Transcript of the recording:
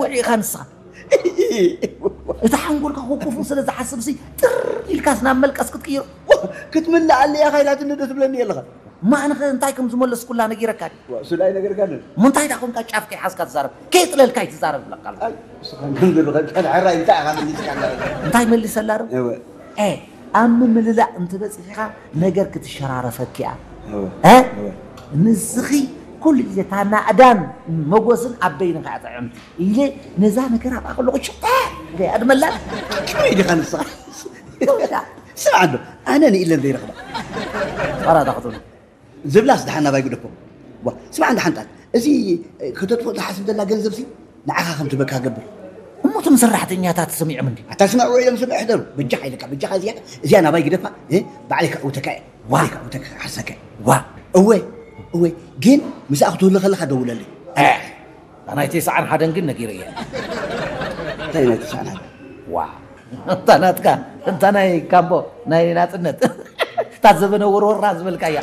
ውዒኻ ንስኻ። እቲ ሓንጎልካ ኮኮፉ ስለ ዝሓስብ ሲ ጥር ኢልካስ ናብ መልቀስ ክትቅይሮ ክትምልኣለ እያ ካይላትኒ ዶ ትብለኒ ኣለኻ? ማዕንኸ እንታይ ከም ዝመለስኩላ ነጊረካ ድዩ? ስለ ኣይነገርካንን። እሞ እንታይ ዳ ኮንካ ጫፍ ከይሓዝካ ትዛረብ? ከየጥለልካ ይትዛረብ ብለካ ኣሎ። ኣይ፣ ንስኻ ከም ዘለኻ ሕራይ እንታይ ኢኻ መሊስካ ኣለኻ? እንታይ መሊሰላ ዶ? እወ። ኤ፣ ኣብ ምምልላእ እንትበፅሕ ኢኻ ነገር ክትሸራረፈኪ እያ። እወ። እ? እወ። ንስኺ ኩሉ ግዜ እታ ናእዳን መጎስን ኣብ በይንኻ እያ ጥዕምቲ ኢለ ነዛ ነገር ኣብኣ ከለኹ ሽጠ እያ ድመላ። ከመይ ዲኻ ንስኻ? ስምዓ ኣሎ፣ ኣነ ንኢለን ዘይረኽባ። ጸራታ ክትብሉ። ዝብላስ ደሓን ናባይ ግደፎ። ዋ፣ ስምዓ እንዳ ሓንጣል፣ እዚ ከተጥፍኦ ትሓስብ ዘላ ገንዘብ ሲ ንዓኻ ከም ትበካ ገብር። እሞ እቶም ሰራሕተኛታት ሰሚዖም እንዲ? ኣታ ስምዕ ውዒሎም ስምዕ ሕደሩ። በጃኻ ኢለካ፣ በጃኻ እዚኣ፣ እዚኣ ናባይ ግደፋ፣ እ፣ ባዕለይ ከእውተካ እየ። ዋ። ባዕለይ ከእውተካ፣ ክሓርሰካ እየ። ዋ። እወ፣ እወ፣ ግን ምስኣ ክትህሉ ከለኻ ደውለለይ። እ፣ እታ ናይ ተስዓን ሓደን ግን ነጊረያ። እንታይ ናይ ተስዓን ሓደን? ዋ። እታ ናትካ፣ እታ ናይ ካምቦ፣ ናይ ናጽነት። እታ ዘበነ ወርወራ ዝበልካያ።